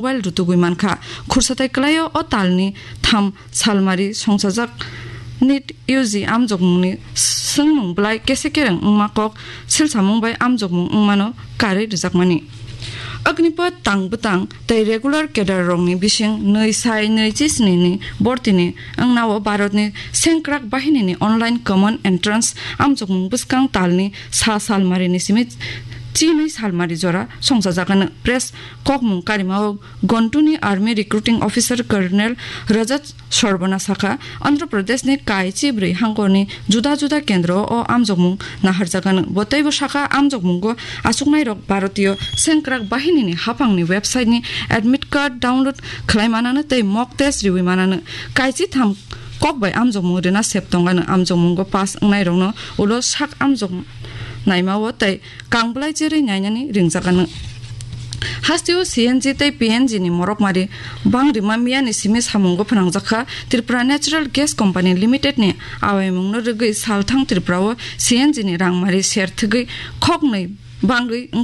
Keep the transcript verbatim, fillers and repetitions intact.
mobile rutugwi mankha. Khursatai kwlaio o talni tham salmari songsajak NEET U G amjokmungni swngmung bwlai kese kereng wngma kok silsamung bai amjokmung wngmano karwi rwjakmani. Agnipath tang bwtang tei regular cadre rokni bising nwi sai nwi chi sni ni bortini wngnao Bharatni sengkrak bahinini online common entrance amjokmung bwskang talni sa salmarini simi chinwi salmari jora songchajak hwnwi press kokmung karimao Gontuni Army Recruiting Officer Colonel Rajat Sarbana sakha, Andhra Pradeshni kai chibrwi hangkorni juda juda kendro o amjokmung naharjak hwnwi. Bo teibo sakha, amjokmungo achuknairok Bharatiyo Sengkrak Bahinini haphangni website-ni admit card download khlai manano tei mock test riwi manano. Kai chitham kok bai amjokmung rina sep tongano, amjokmungo pass wngnairokno ulo sak amjok naimao tei kang bwlai cherwi nainani ringjak ano. Hasteo C N G tei P N G ni morokmari bang rima miyani simi samungo phwnangjakha. Tripura Natural Gas Company Limited ni awaimungno rwgwi salthang Tripura o C N G ni rangmari ser thwgwi khoknwi bangwi